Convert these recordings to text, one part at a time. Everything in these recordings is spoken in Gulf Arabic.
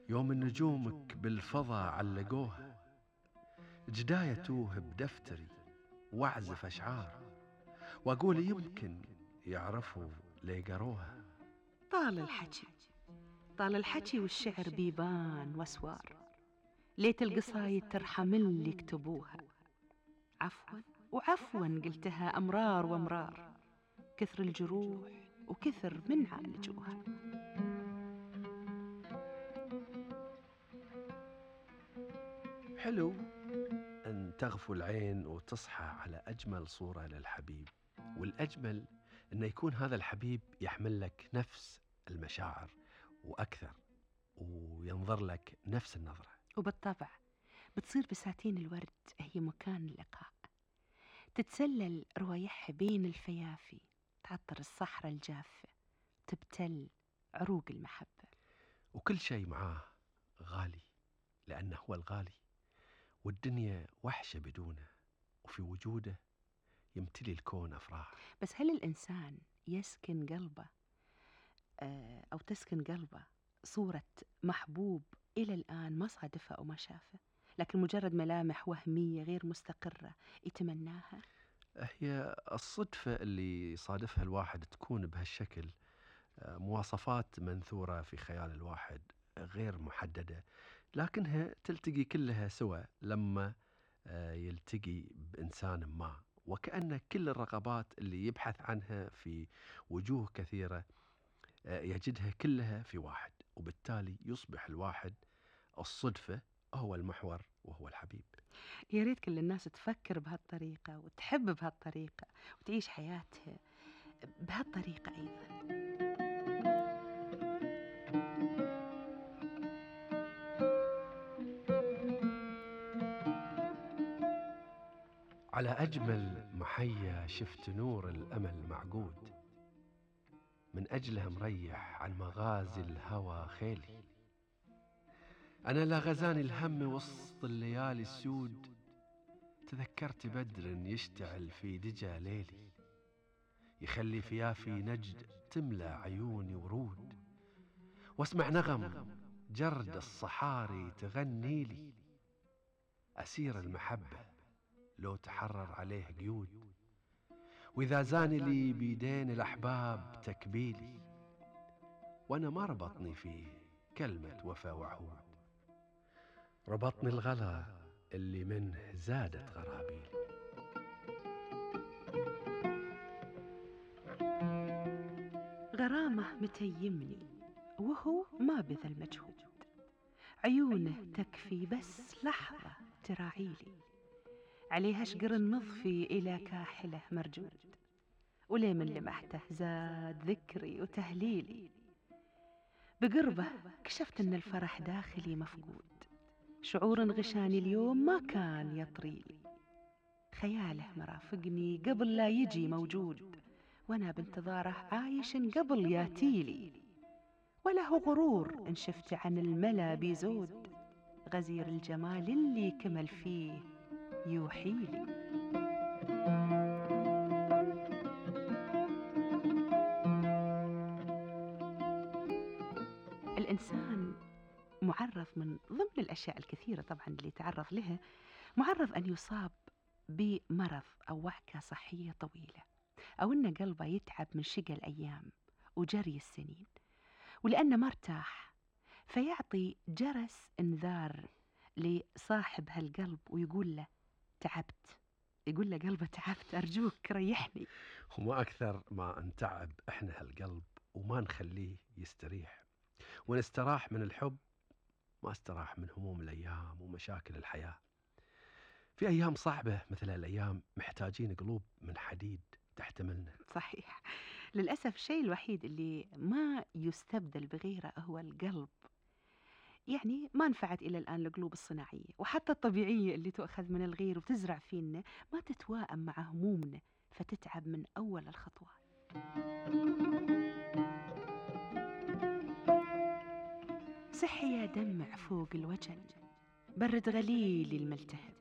يوم نجومك بالفضا علقوها، جداية توه بدفتري واعزف أشعار، وأقول يمكن يعرفوا لي قروها. طال الحكي طال الحكي والشعر بيبان واسوار، ليت القصايد ترحم اللي يكتبوها. عفوا وعفوا قلتها أمرار وأمرار، كثر الجروح وكثر من عالجوها. حلو أن تغفو العين وتصحى على أجمل صورة للحبيب، والأجمل أن يكون هذا الحبيب يحمل لك نفس المشاعر وأكثر، وينظر لك نفس النظرة. وبالطبع بتصير بساتين الورد هي مكان اللقاء، تتسلل روايحها بين الفيافي، تعطر الصحراء الجافة، تبتل عروق المحبة. وكل شيء معاه غالي، لأنه هو الغالي، والدنيا وحشة بدونه، وفي وجوده يمتلي الكون أفراح. بس هل الإنسان يسكن قلبه أو تسكن قلبه صورة محبوب إلى الآن ما صادفه أو ما شافه، لكن مجرد ملامح وهمية غير مستقرة يتمناها؟ هي الصدفة اللي صادفها الواحد تكون بهالشكل، مواصفات منثورة في خيال الواحد غير محددة، لكنها تلتقي كلها سوا لما يلتقي بإنسان ما، وكأن كل الرغبات اللي يبحث عنها في وجوه كثيرة يجدها كلها في واحد، وبالتالي يصبح الواحد الصدفة هو المحور وهو الحبيب. يا ريت كل الناس تفكر بهالطريقة وتحب بهالطريقة وتعيش حياتها بهالطريقة أيضا. على أجمل محيا شفت نور الأمل معقود، من أجله مريح عن مغازي الهوى خيلي. أنا لا غزاني الهم وسط الليالي السود، تذكرت بدر يشتعل في دجى ليلي، يخلي فيافي نجد تملى عيوني ورود، واسمع نغم جرد الصحاري تغني لي. أسير المحبة لو تحرر عليه قيود، وإذا زان لي بيدين الأحباب تكبيلي، وأنا ما ربطني فيه كلمة وفا وعهود، ربطني الغلا اللي منه زادت غرابيلي. غرامة متيمني وهو ما بذل مجهود، عيونه تكفي بس لحظة تراعيلي، عليها شقر النظفي إلى كاحله مرجود، ولي من لمحته زاد ذكري وتهليلي. بقربه كشفت أن الفرح داخلي مفقود، شعور غشاني اليوم ما كان يطريلي، خياله مرافقني قبل لا يجي موجود، وأنا بانتظاره عايش قبل ياتيلي. وله غرور إن شفت عن الملا بيزود، غزير الجمال اللي كمل فيه يوحيلي. الإنسان معرض من ضمن الأشياء الكثيرة طبعا اللي تعرض لها، معرض أن يصاب بمرض أو وعكة صحية طويلة، أو أن قلبه يتعب من شقى الأيام وجري السنين، ولأنه ما ارتاح فيعطي جرس انذار لصاحب هالقلب ويقول له تعبت، يقول له قلبه تعبت أرجوك ريحني. وما أكثر ما نتعب إحنا هالقلب وما نخليه يستريح، ونستراح من الحب ما استراح من هموم الأيام ومشاكل الحياة. في أيام صعبة مثل الأيام محتاجين قلوب من حديد تحتملنا. صحيح، للأسف الشيء الوحيد اللي ما يستبدل بغيره هو القلب، يعني ما نفعت إلى الآن القلوب الصناعية وحتى الطبيعية اللي تؤخذ من الغير وتزرع فينا ما تتوائم مع همومنا، فتتعب من أول الخطوات. صحي يا دمع فوق الوجل، برد غليلي الملتهب،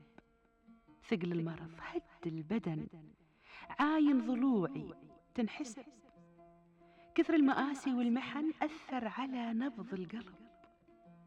ثقل المرض هد البدن، عاين ضلوعي تنحسب، كثر المآسي والمحن أثر على نبض القلب،